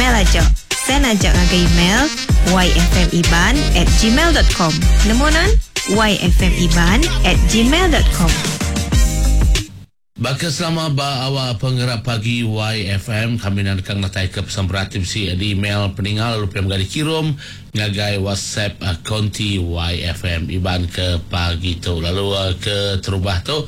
email aja. Send aja ngagai email yfmiban at gmail dot com. Nemu nan? yfmiban at gmail dot com. Baka selama ba awak pengerap pagi YFM kami enda deka ngenataika pesan berat ti bisi di email peninga lalu pia mega dikirum ngagai WhatsApp konti YFM Iban ke pagi tu. Lalu ke terubah tu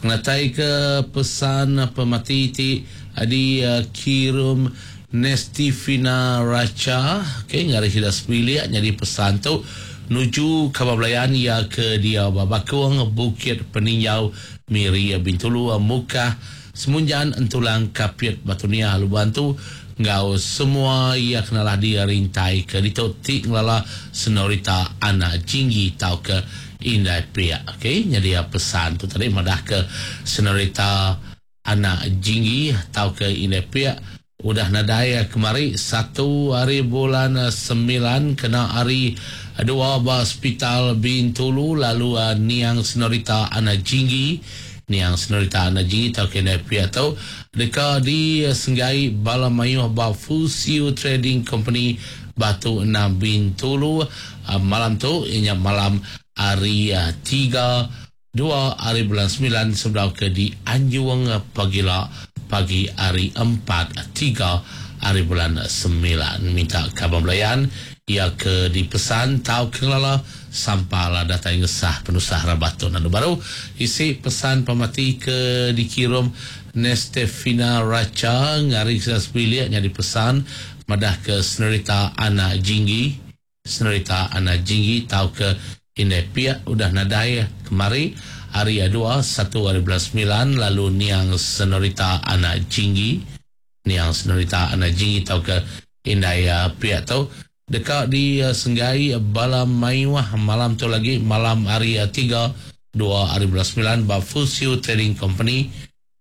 ngenataika pesan pemati ti dikirum Nestifina Racha okay ngari sida sebilik nyadi pesan tu nuju kaban belayan iya ke diau ba Bakong Bukit Peninjau Miri, Bintulu, Mukah, Semunjan, Entulang, Kapit, Batu Niah, Lubok Antu enggau semua iya kenalah di rintai ke ditu ti ngelala Senorita Anak Jinggi tauka Indai Pik. Okey, nyadi pesan tu tadi madahka Senorita Anak Jinggi tauka Indai Pik Udah nadai kemari satu ari bulan semilan kena hari dua ba Sepital Bintulu lalu niang Senorita Ana Jinggi niang Senorita Ana Jinggi tauka indai pia tu deka disenggai bala mayuh ba Fusiu Trading Company Batu Enam Bintulu malam tu iya nya malam hari tiga Dua ari bulan semilan sebedau ke dianjung pagila pagi ari empat tiga ari bulan semilan. Minta kaban belayan iya ke dipesan tauka ngelala sampal datai ngesah penusah rabat tu. Nandu baru isi pesan pemati ke dikirum Nestefina Racha ngari sida sebilik nyadi pesan madahka Senerita Anak Jinggi. Senerita Anak Jinggi tauka Indai Pik udah nadai kemari hari dua satu ari bulan semilan lalu niang Senerita Anak Jinggi niang Senerita Anak Jinggi tauka Indai Pik tu deka disenggai bala mayuh malam tu lagi malam hari tiga dua ari bulan semilan ba Fusiu Trading Company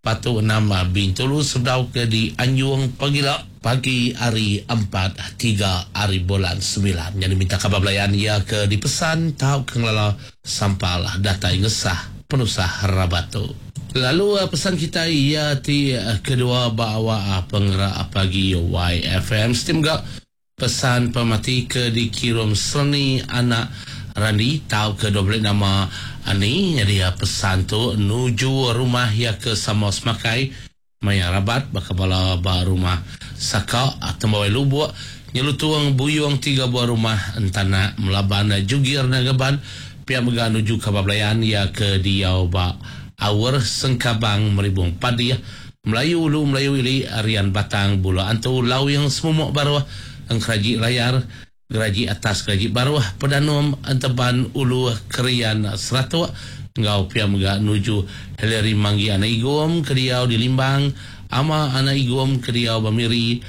Batu Enam Bintulu sebedau ke dianjung pagila pagi hari empat tiga ari bulan semilan. Nyadi minta kaban belayan iya ke dipesan tauka ngelala sampal datai ngesah penusah rabat tu. Lalu pesan kitai iya ti kedua ba awak pengerak pagi YFM siti mega Pesan pemati ke dikirum Serni anak Randi tauka dua beli nama Ani nyadi pesan tu nuju rumah iya ke sama semakai maya rabat baka bala ba rumah Saka Tembawai Lubuk Nyelutung Buyung tiga buah rumah Entanak Melaban Jugir Nagaban pia mega nuju kaban belayan iya ke diau ba Aur Sengkabang Meribung Padih Melayu Ulu Melayu Ili Rian Batang Bula Antu Lawing Semumuk Baruh Engkeraji Layar Geraji Atas Geraji Baruh Pedanum Enteban Ulu Kerian Seratuk enggau pia mega nuju Hillary Manggi Anak Igom ke diau di Limbang Ama Anak Igom ke diau ba Miri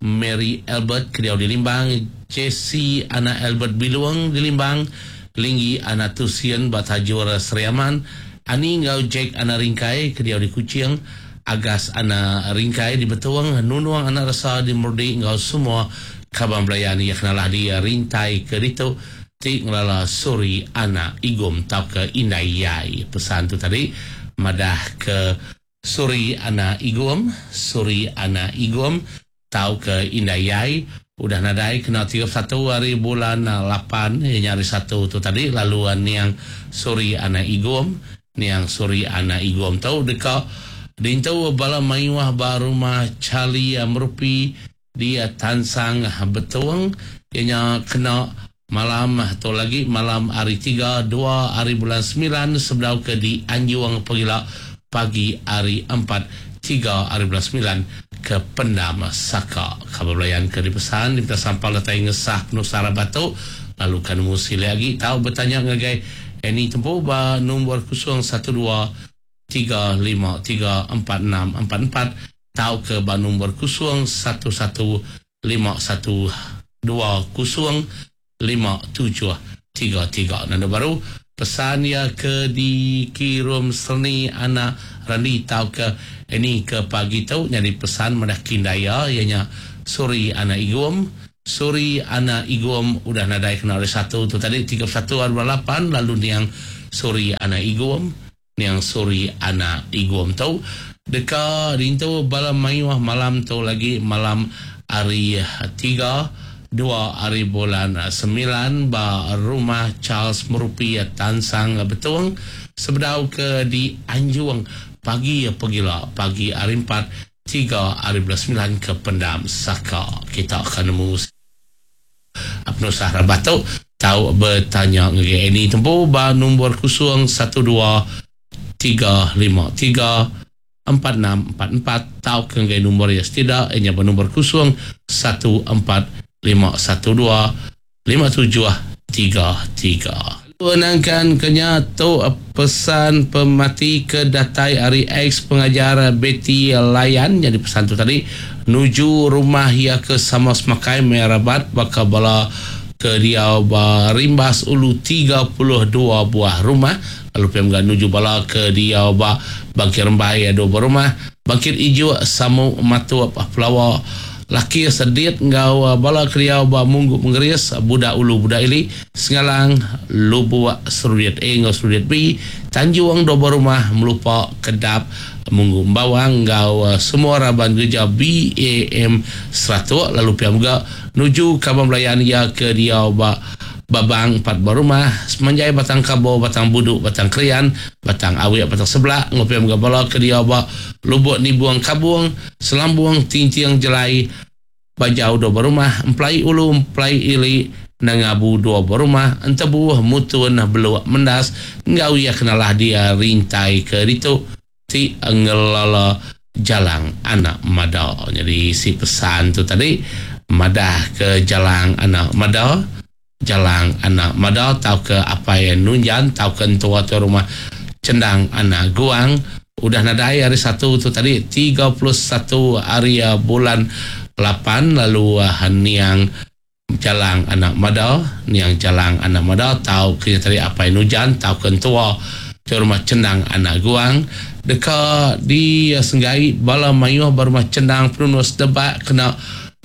Mary Albert ke diau di Limbang Jesse Anak Albert Bilung di Limbang Linggi Anak Tusien ba Tajur Sri Aman Ani enggau Jack anak Ringkai ke diau di Kuching, Agas anak Ringkai di Betong, Nunung anak Resa di Merudi enggau semua kaban belayan iya kenalah di Rintai ke ditu ti ngelala Suri anak Igum tauka Indai Yai. Pesan tu tadi madah ke Suri anak Igum, Suri anak Igum tauka Indai Yai udah nadai kena 31 hari bulan lapan iya nya hari Satu tu tadi lalu niang Suri anak Igum, niang Suri anak Igum tu deka diintu bala mayuh ba Rumah Charlie Merupi di Tansang Betong iya nya kena malam tu lagi malam hari tiga dua hari bulan semilan sebedau ke dianjung pegila pagi hari empat tiga hari bulan semilan ke Pendam Saka. Kaban belayan ke dipesan dipinta sampal datai ngesah penusah rabat tu lalu ka nemu silik agi tau betanya ngagai Annie Tempu ba nombor 012 353 4644 tauka ba nombor 011 51205733. Nanda baru pesan iya ke dikirum Serni anak Randi tauka Annie ke pagi tu nyadi pesan madah kindai iya iya nya Suri anak Igum. Suri anak Igum udah nadai kena hari Satu tu tadi 31 hari bulan lapan lalu niang Suri anak Igum Niang Suri anak Igum tu deka diintu bala mayuh malam tu lagi malam. hari tiga, dua hari bulan semilan ba Rumah Charles Merupi Tansang Betong sebedau ke dianjung pagi pegila pagi hari empat, tiga hari bulan semilan ke Pendam Saka. Kita ka nemu penusah rabat tu tau betanya ngagai Annie tempu ba nombor 012 353 4644 tauka ngagai nombor iya setida iya nya ba nombor 0 14 512 5733. Lalu nangkan ke nya tu pesan pemati ke datai ari ex pengajar Betty Layan nyadi pesan tu tadi nuju rumah iya ke sama semakai maya rabat baka bala ke diau ba Rimbas Ulu 32 buah rumah lalu pia mega nuju bala ke diau ba Bangkit Rembai dua buah rumah, Bangkit Ijuk, Samu, Matup, Pelawa, Laki Sedit enggau bala ke diau ba Munggu Mengeris, Budak Ulu Budak Ili, Sengalang, Lubuk, Serudit A enggau Serudit B, Tanjung dua buah rumah, Melupa, Kedap, Munggu Embawang enggau semua raban gereja BAM Seratok lalu pia mega nuju kaban belayan iya ke diau ba Babang empat buah rumah, semanjai Batang Kabo, Batang Budu, Batang Krian, Batang Awik, Batang Seblak enggau pia mega bala ke diau ba Lubuk Nibung Kabung, Selambung, Tinting Jelai, Bajau dua buah rumah, Emplai Ulu, Emplai Ili, Nanga Abu dua buah rumah, Entebu, Mutun, Beluk, Mendas enggau iya ke nalah dia rintai ke ditu ti ngelala Jalang Anak Mada. Nyadi isi pesan tu tadi madah ke Jalang Anak Mada, Jalang Anak Mada tauka Apai Nunjan tauka entua tuai rumah Chendang Anak Guang udah nadai hari Satu tu tadi 31 hari bulan lapan lalu niang Jalang Anak Mada, niang Jalang Anak Mada tauka nya tadi Apai Nujan tauka entua tuai rumah Chendang Anak Guang deka disenggai bala mayuh ba rumah Chendang Penunus Debak kena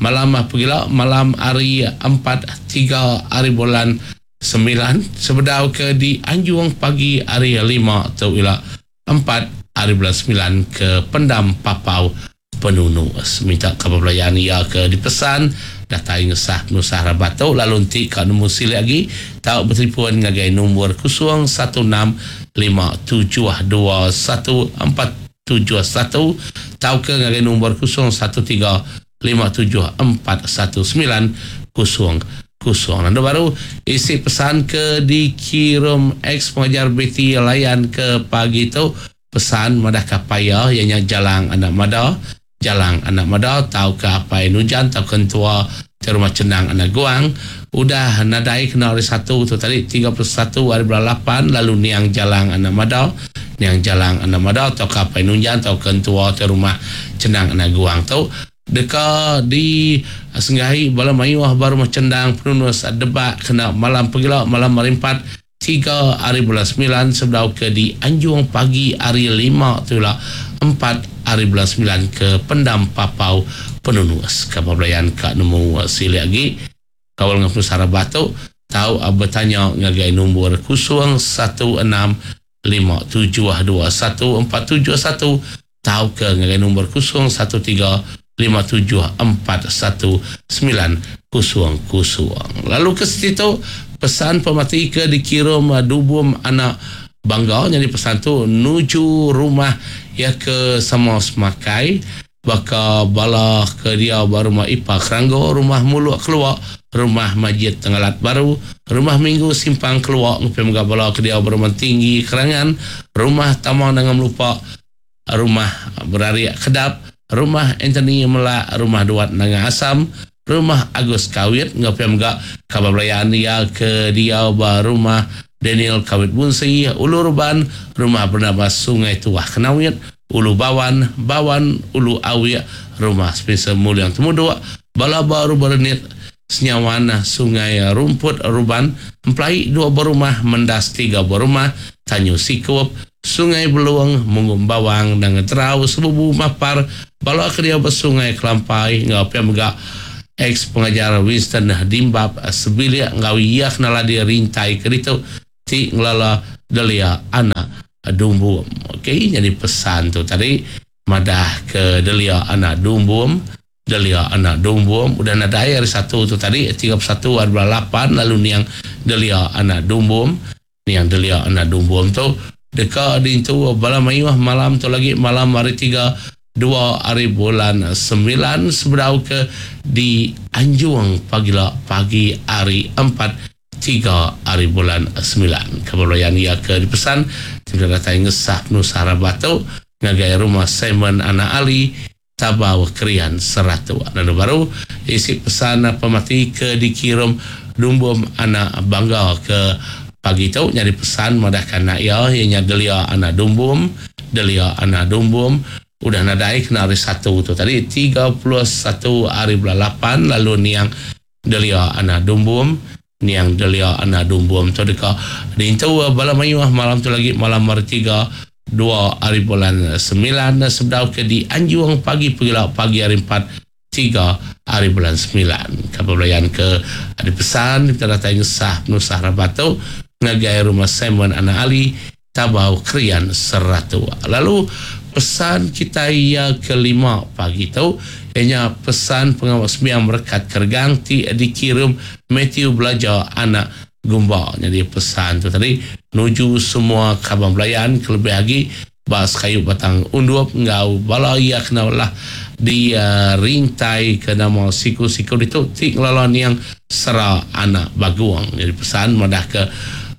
malam pegila malam hari empat tiga hari bulan semilan sebedau ke dianjung pagi hari lima tu ila empat hari bulan semilan ke Pendam Papau Penunus. Minta kaban belayan iya ke dipesan datai ngesah penusah rabat tu lalu enti ka nemu silik agi tau betelefon ngagai nombor 0165721471 tauka ngagai nombor 0135741900. Lalu baru isi pesan ke dikirum ex pengajar Betty Layan ke pagi tu pesan madah ke apai iya iya nya Jalang Anak Mada, Jalang Anak Mada tauka Apai Nujan tauka entua ti Rumah Chendang Anak Guang udah nadai kena hari Satu tu tadi 31 hari bulan lapan lalu niang Jalang Anak Mada, niang Jalang Anak Mada tauka Apai Nunjan tauka entua ti Rumah Chendang Anak Guang tu deka disenggahi bala mayuh ba Rumah Chendang Penunus Debak kena malam pegila malam hari Empat tiga hari bulan semilan sebedau ke dianjung pagi hari lima tu ila empat hari bulan semilan ke Pendam Papau Penunus. Kaban belayan ka nemu silik agi kaul enggau penusah rebah tu tau betanya ngagai nombor 0165721471 tauka ngagai nombor 0135741900. Lalu ke siti tu pesan pemati ke dikirum Dubum Anak Bangga nyadi pesan tu nuju rumah iya ke sama semakai baka bala ke diau ba rumah Ipa Keranggo, rumah Muluk Keluak, rumah Majid Tengalat Baru, rumah Minggu Simpang Keluak ngepia mega bala ke diau ba rumah Tinggi Kerangan, rumah Tama Nanga Melupa, rumah Berarik Kedap, rumah Anthony Melak, rumah Duat Nanga Asam, rumah Agus Kawit enggau pia mega kaban belayan iya ke diau ba rumah Daniel Kawit Bunsi, Ulu Ruban, rumah Bernabas Sungai Tuah Kenawit, Ulu Bawan, Bawan, Ulu Awik, rumah Spencer Muling Temuduk, bala ba Rumah Renit, Senyawan, Sungai Rumput Ruban, Emplai dua buah rumah, Mendas tiga buah rumah, Tanyu Sikup, Sungai Belung, Munggu Embawang, Nanga Terau, Sebubu, Mapar, bala ke diau ba Sungai Kelampai enggau pia mega ex-pengajar Winston Dimbap sebilik enggau iya kenala di rintai ke ditu ti ngelala Delia Anak Dumbum. Okey, nyadi pesan tu tadi madah ke Delia Anak Dumbum. Delia anak Dumbum udah nadai hari satu tu tadi 31 hari bulan lapan lalu niang Delia anak Dumbum. Niang Delia anak Dumbum tu deka diintu bala mayuh malam tu lagi malam hari tiga dua hari bulan semilan sebedau ke dianjung pagila pagi hari empat tiga hari bulan semilan. Kaban belayan iya ke dipesan ti meda datai ngesah penusah rabat tu ngagai rumah Simon anak Ali Tabau Krian Seratuk. Lalu baru isi pesan pemati ke dikirum Dumbum anak Bangga ke pagi tu nyadi pesan madahka anak iya iya nya Delia anak Dumbum, Delia anak Dumbum udah nadai kena hari Satu tu tadi 31 hari bulan lapan lalu niang Delia anak Dumbum, niang Delia anak Dumbum tu deka diintu bala mayuh malam tu lagi malam hari tiga dua hari bulan semilan sebedau ke dianjung pagi pegila pagi hari empat tiga hari bulan semilan. Kaban belayan ke dipesan dipinta datai ngesah penusah rabat tu ngagai rumah Simon anak Ali Tabau Krian Seratuk. Lalu pesan kitai iya ke lima pagi tu iya nya pesan pengawa sembiang merekat keregang ti dikirum Mathew Belaja anak Gumba. Nyadi pesan tu tadi nuju semua kaban belayan kelebih agi ba sekayu Batang Undup enggau bala iya kena lah di rintai ke nama siku-siku ditu ti ngelala niang Sera anak Bagung. Nyadi pesan madah ke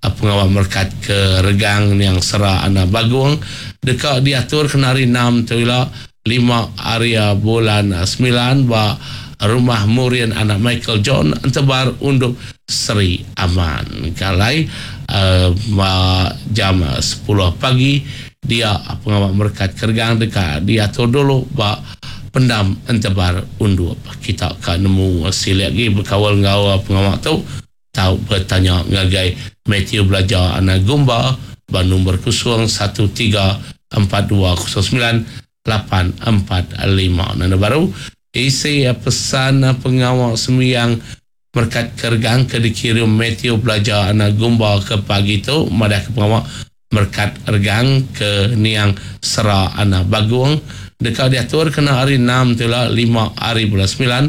pengawa merekat ke regang niang Sera anak Bagung deka diatur kena hari enam tu ila lima hari bulan semilan ba Rumah Murin anak Michael John Entebar Undup Seri Aman. Ke alai ba jam sepuluh pagi dia pengawa merekat ke regang deka diatur dulu ba Pendam Entebar Undup. Kita ka nemu silik agi bekaul enggau pengawa tu tau betanya ngagai Mathew Belaja anak Gumba ba nombor 01 3 42 09 845. Nanda baru isi pesan pengawa sembiang merekat ke regang ke dikirum Mathew Belaja anak Gumba ke pagi tu madah ke pengawa merekat regang ke niang Sera anak Bagung deka diatur kena hari enam tu ila lima hari bulan semilan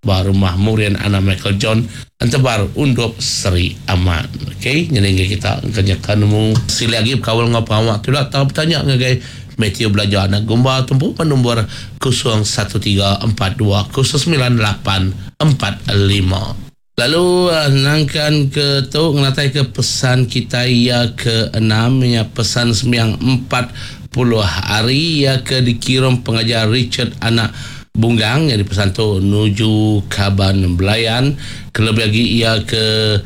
ba rumah Murin anak Michael John Entebar Undup Seri Aman. Okey, nyadi enggai kita engka nyeka nemu silik agi bekaul enggau pengawa tu ila tau betanya ngagai Mathew Belaja anak Gumba tumpu ba nombor 01 3 4 2 0 9 8 4 5. Lalu nangkan ke tu ngenataika pesan kitai iya ke enam nya pesan sembiang 40 hari iya ke dikirum pengajar Richard anak Bunggang nyadi pesan tu nuju kaban belayan kelebih agi iya ke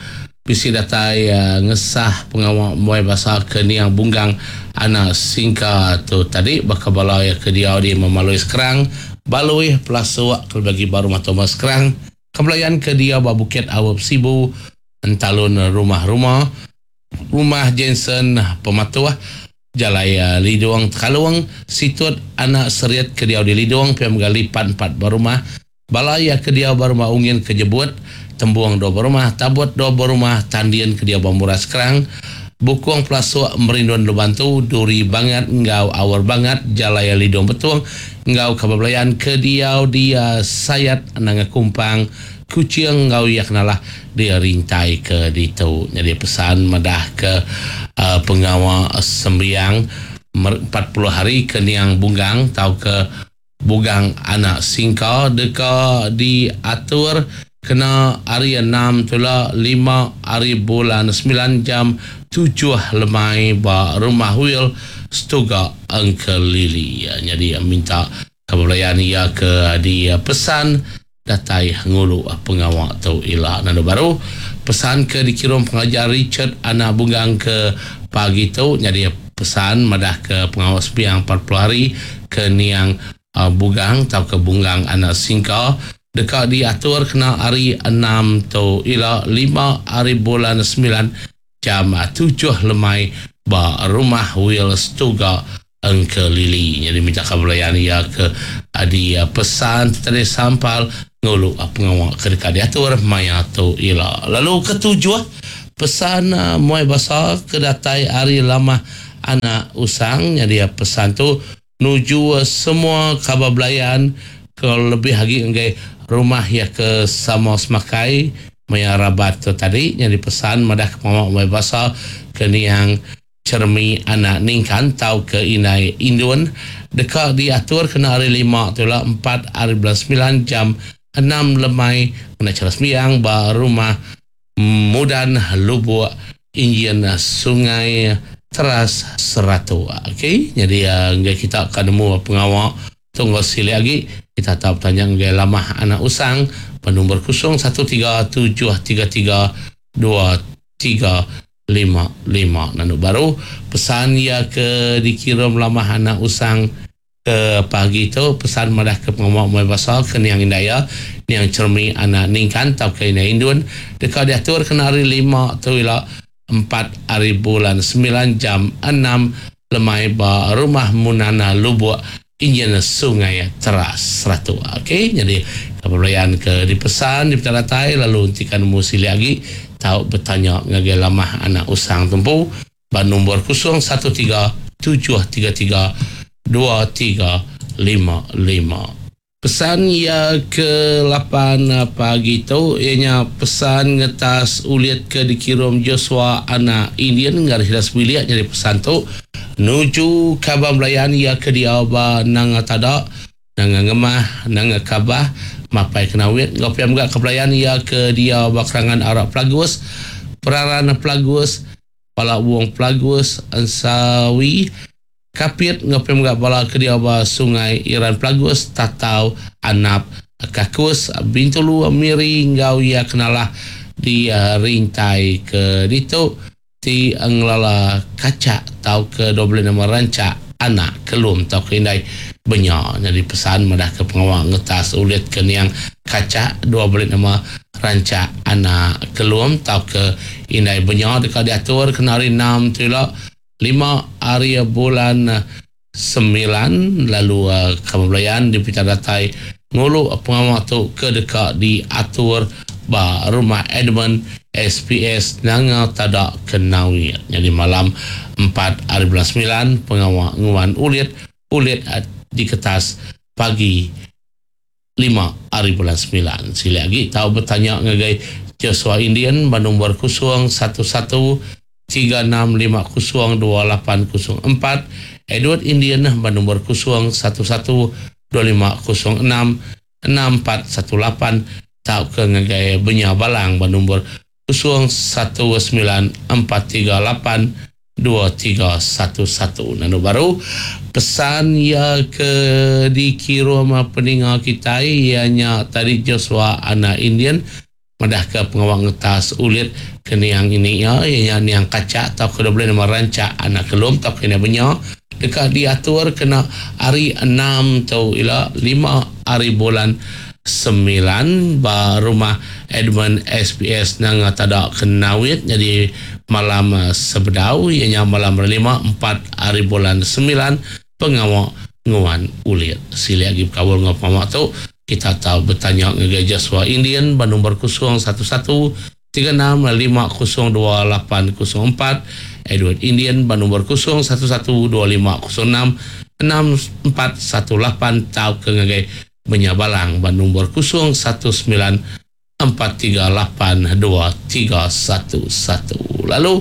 bisi datai ngesah pengawa muai basa ke niang Bunggang anak Singka tu tadi baka bala iya ke diau di Memalui Skrang, Balui, Pelasuk kelebih agi ba Rumah Thomas Skrang. Kebelayan ke diau ba Bukit Aup Sibu, Entalun Rumah Ruma, Rumah Jensen Pematuh, Jalai Lidong Tekalong, Situt Anak Serit ke diau di Lidong pia mega Lipan empat berumah, bala iya ke diau ba Rumah Ungin ke Jebut, Tembung dua berumah, Tabut dua berumah, Tandin ke diau ba Muras Krang, Bukung Pelasuk Merindun Lubantu, Duri Bangat enggau Aur Bangat, Jalai Lidong Betong enggau Kaban Belayan ke diau di Sayat Nanga Kumpang, Kuching enggau iya kenalah dirintai ke ditu. Nyadi pesan madah ke pengawa sembiang 40 hari ke niang Bunggang tauka Bugang anak Singka deka diatur kena hari enam tula lima hari bulan semilan jam tujuh lemai ba Rumah Wil Setuga Engkelili. Nyadi minta kaban belayan iya ke dipesan datai ngulu pengawa tu ila. Nandu baru pesan ke dikirum pengajar Richard anak Bunggang ke pagi tu nyadi pesan madah ke pengawa sembiang 40 hari ke niang Bugang tauka Bunggang anak Singka deka diatur kena hari enam tu ila lima hari bulan semilan jam tujuh lemai ba Rumah Wil Setuga Engkelili. Nyadi minta ka belayan iya ke di pesan ti tadi sampal ngulu pengawa ke deka diatur maya tu ila. Lalu ketujuh pesan muai basa ke datai ari lamah anak usang nyadi pesan tu nuju semua kaban belayan. Ke lebih agi ngagai rumah iya ke sama semakai maya rabat tu tadi nyadi pesan madah ke pengawa mai basa ke niang Cheremi anak Ningkan tauka Indai Indun deka diatur kena hari Lima tu ila empat ari bulan semilan jam enam lemai ngena chara sembiang ba Rumah Mudan Lubuk Injin Sungai Teras Seratok. Okey nyadi enggai kita ka nemu pengawa tu enggau silik agi kita tau betanya ngagai Lamah Anak Usang ba nombor 013 733 2355. Nandu baru pesan iya ke dikirum Lamah Anak Usang ke pagi tu pesan madah ke pengawa muai basa ke niang indai iya niang Chermi Anak Ningkan tauka Indai Indun deka diatur kena hari Lima tu ila empat ari bulan semilan jam enam lemai ba Rumah Munana Lubuk Injin Sungai Teras Seratok. Okey nyadi pebelayan ke dipesan dipeda datai lalu enti ka nemu silik agi tau betanya ngagai Lamah Anak Usang tu empu ba nombor 013 733 2355. Pesan iya ke lapan pagi tu iya nya pesan ngetas ulit ke dikirum Joshua anak Indian ngagai sida sebilik nyadi pesan tu nuju kaban belayan iya ke diau ba Nanga Tada, Nanga Ngemah, Nanga Kabah, Mapai Kenawit enggau pia mega ke belayan iya ke diau ba Kerangan Arak Pelagus, Peraran Pelagus, Pala Wong Pelagus, Ensawi, Kapit enggau pia mega bala ke diau ba Sungai Iran Pelagus, Tatau, Anap, Kakus, Bintulu, Miri enggau iya ke nalah di rintai ke ditu ti ngelala kachak tauka dua belas nama ranchak anak kelum tauka indai benya. Nyadi pesan madahka pengawa ngetas ulit ke niang kachak dua belas nama ranchak anak kelum tauka indai benya deka diatur kena hari enam tu ila lima hari bulan semilan lalu kaban belayan dipinta datai ngulu pengawa tu ke deka diatur ba Rumah Edmund SPS Nanga Tada Kenawit. Nyadi malam empat hari bulan semilan pengawa nguan ulit ulit diketas pagi lima hari bulan semilan. Silik agi tau betanya ngagai Joshua Indian ba nombor 011 3650 2804, Edward Indian ba nombor 011 2506 6418 tauka ngagai Benya Balang ba nombor 019 438 2311. Lalu baru pesan iya ke dikirum peninga kitai iya nya tadi Joshua anak Indian madahka pengawa ngetas ulit ke niang ini iya iya nya niang kachak tauka dua belas nama ranchak anak kelum tauka indai benya deka diatur kena hari enam tu ila lima hari bulan semilan ba Rumah Edmund SPS Nanga Tada Kenawit. Nyadi malam sebedau iya nya malam hari lima empat hari bulan semilan pengawa nguan ulit. Silik agi bekaul enggau pengawa tu kita tau betanya ngagai Joshua Indian ba nombor 011 36 50 2804, Edward Indian ba nombor 011 2506 6418 tauka ngagai Benya Balang ba nombor 019 438 2311. Lalu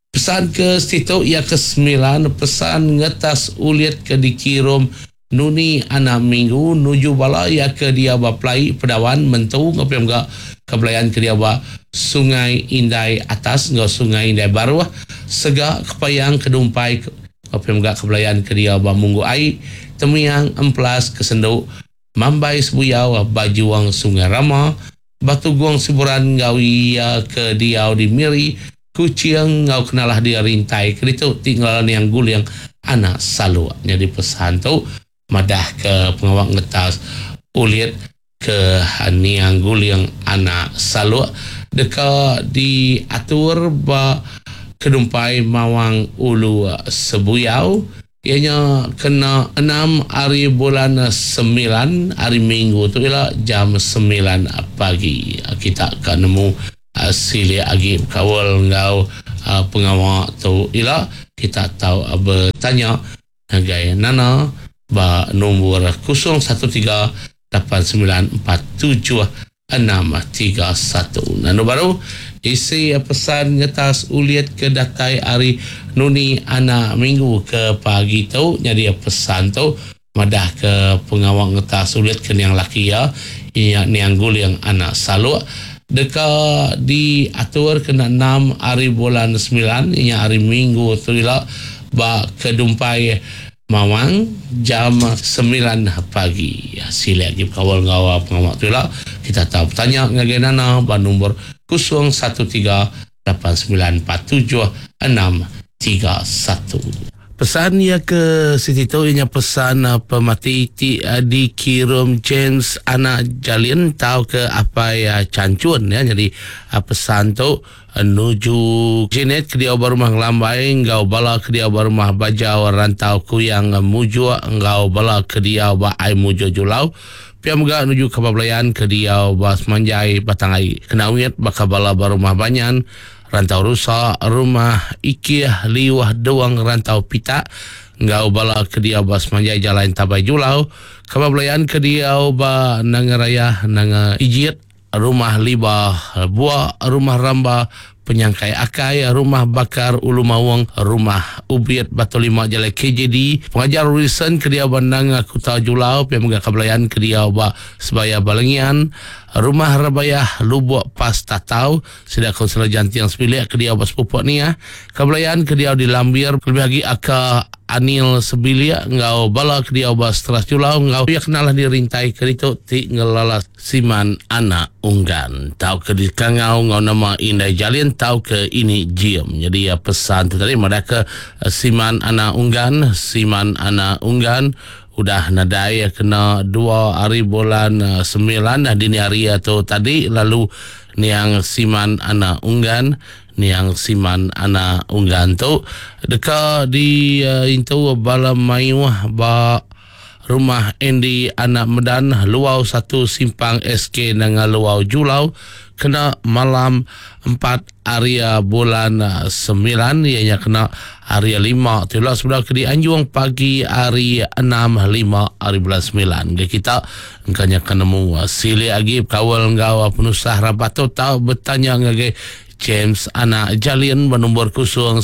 pesan ke situ iya ke sembilan pesan ngetas ulit ke dikirum Nuni anak Minggu nuju bala iya ke dia ba Pelai Pedawan Mentu enggau pia mega ke belayan ke dia ba Sungai Indai Atas enggau Sungai Indai Baruh Sega Kepayang Kedumpai enggau pia mega ke belayan ke dia ba Munggu Ai Temiang Empelas Kesendu Mambai Sebuyau Bajuang Sungai Rama Batu Gong Siburan enggau iya ke diau di Miri, Kuching enggau kenalah dia rintai ke ditu ti ngelala niang Guling anak Saluk. Nyadi pesan tu madah ke pengawa ngetas ulit ke niang Guling anak Saluk deka diatur ba Kedumpai Mawang Ulu Sebuyau iya nya kena enam hari bulan semilan hari Minggu tu ila jam semilan pagi. Kita ka nemu silik agi bekaul enggau pengawa tu ila kita tau betanya ngagai Nana ba nombor 013. 8947 631. Nandu baru isi pesan ngetas ulit ke datai ari nuni anak minggu ke pagi tu nyadi pesan tu madah ke pengawa ngetas ulit ke niang laki iya iya niang Guling anak Saluk deka diatur kena enam ari bulan semilan iya hari minggu tu ila ba Kedumpai Mawang jam semilan pagi. Silik agi bekaul enggau pengawa tu ila, kita tau betanya ngagai Nana ba nombor 0138947631. Pesan iya ke siti tu iya nya pesan pemati ti dikirum James anak Jalin tauka apai Chanchun ya. Nyadi pesan tu Nuju Jenet ke diau ba rumah Ngelambai enggau bala ke diau ba rumah Bajau Rantau Kuyang Mujuk enggau bala ke diau ba Ai Mujuk Julau. Pia mega nuju kaban belayan ke diau ba semanjai Batang Ai Kenawit baka bala ba rumah Banyan, Rantau Rusa, Rumah Ikih, Liuh, Duong, Rantau Pitak enggau bala ke diau ba semanjai Jalai Entabai Julau. Kaban belayan ke diau ba Nanga Rayah, Nanga Ijit, Rumah Liba, Bua, Rumah Ramba, Penyangkai Akai, Rumah Bakar Ulu Maung, Rumah Ubit Batu Lima Jalai KJD, Pengajar Wilson ke diau ba Nanga Kuta Julau, pia mega Kabelayan ke diau ba Sebaya Balengian, Rumah Rebayah Lubok Pas Tatau, sida Kaunsilor Janting sebilik ke diau ba Sepupok Niah, Kabelayan ke diau di Lambir, kelebih agi aka Anil sebilik enggau bala ke diau ba Seteras Julau enggau pia kenalah dirintai ke ditu ti ngelala Siman anak Unggan tauka dikangau enggau nama Indai Jalin tauka Ini Jim. Nyadi pesan tu tadi madahka Siman anak Unggan, Siman anak Unggan udah nadai kena dua hari bulan semilan dini hari tu tadi lalu niang Siman anak Unggan, niang Siman anak Unggan tu deka diintu bala mayuh ba Rumah Andy Anak Medan, Luau satu Simpang SK Nanga Luau Julau kena malam empat hari bulan semilan iya nya kena hari lima tu ila sebedau ke dianjung pagi hari enam lima hari bulan semilan. Ga kita engka nya ke nemu silik agi bekaul enggau penusah rabat tu tau betanya ngagai James anak Jalin ba nombor 013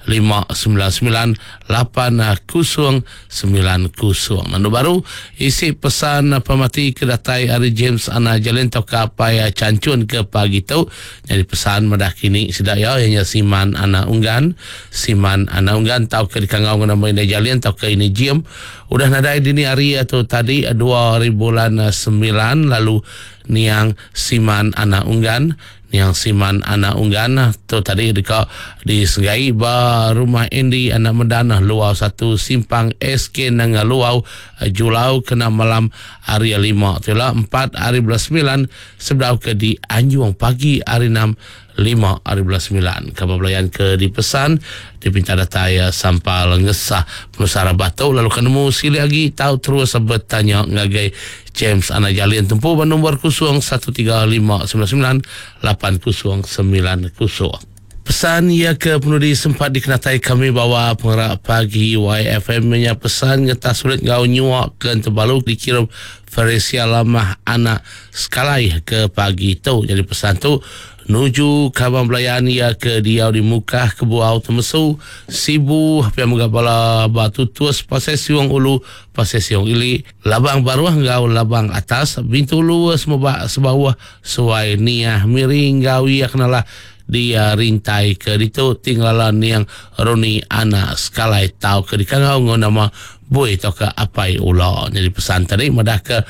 599 8090. Anu baru isi pesan pemati ke datai ari James anak Jalin tauka apai Chanchun ke pagi tu nyadi pesan madah kini sida iya iya nya Siman anak Unggan. Siman anak Unggan tauka dikangau ngena nama indai Jalin tauka ini Jim udah nadai dini hari tu tadi dua hari bulan semilan lalu Niang Siman anak Unggan Niang Siman anak Unggan tu tadi deka disegai ba Rumah Andy anak Medan Luau satu Simpang SK Nanga Luau Julau kena malam hari lima tu ila empat hari bulan semilan sebedau ke dianjung pagi hari enam lima hari bulan semilan. Kaban belayan ke dipesan dipinta datai sampal ngesah penusah rabah tu lalu ke nemu silik agi tau terus betanya ngagai James anak Jalin tempu ba nombor 013599 8090. Pesan iya ke penudi sempat dikenatai kami bawa pengerak pagi YFM nya pesan ngetas sulit enggau nyuak ke Entebalu dikirum Feresia Lamah anak Sekalai ke pagi tu. Jadi pesan tu nuju kaban belayan iya ke diau di Mukah, Kebuau, Temesu, Sibu, pia mega bala ba Tutus, Pasai Siung Ulu, Pasai Siung Ili, Labang Baruh enggau Labang Atas, Bintulu, Semebak, Sebauh, Suai, Niah, Miri enggau iya kenalah di rintai ke ditu ti ngelala niang Roni anak Sekalai tauka dikangau enggau nama Bui tauka Apai Ula. Nyadi pesan tadi madahka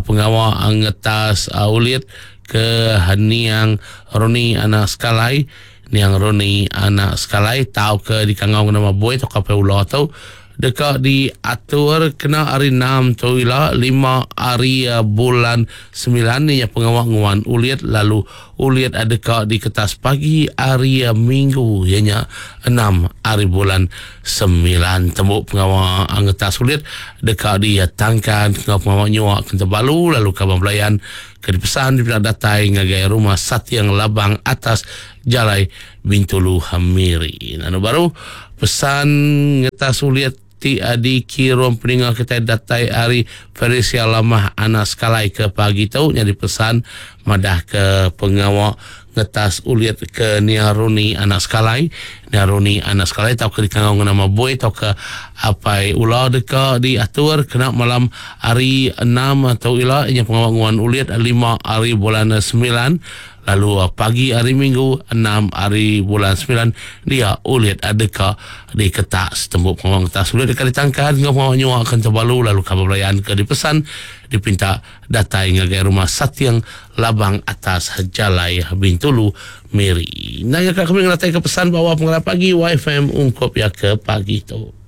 pengawa ngetas ulit ke niang Roni anak Sekalai, niang Roni anak Sekalai tauka dikangau enggau nama Bui tauka Apai Ula tu deka diatur kena hari enam tu ila lima hari bulan semilan iya pengawa nguan ulit lalu ulit deka diketas pagi hari minggu iya nya enam hari bulan semilan. Tembu pengawa ngetas ulit deka ditangkan enggau pengawa nyua ke Tebalu lalu kaban belayan ke dipesan dipeda datai ngagai Rumah Sating Labang atas Jalai Bintulu Miri. Anu baru pesan ngetas ulit. ti dikirum peninga kitai datai ari Ferisia Lamah Anak Sekalai ke pagi tu nyadi pesan madah ke pengawa ngetas ulit ke Nia Roni Anak Sekalai. Nia Roni Anak Sekalai tauka dikangau enggau nama Boi tauka Apai Ula deka diatur kena malam hari enam tu ila inya pengawa nguan ulit lima hari bulan semilan lalu pagi hari minggu enam hari bulan semilan dia ulit deka diketak setembu pengawa ngetas ulit deka ditangkan enggau pengawa nyua ke Tebalu lalu kaban belayan ke dipesan dipinta datai ngagai Rumah Sating Labang Atas Jalai Bintulu, Miri. Enda nyangka kami ngenataika pesan ba awal pengerap pagi YFM ungkup iya ke pagi tu.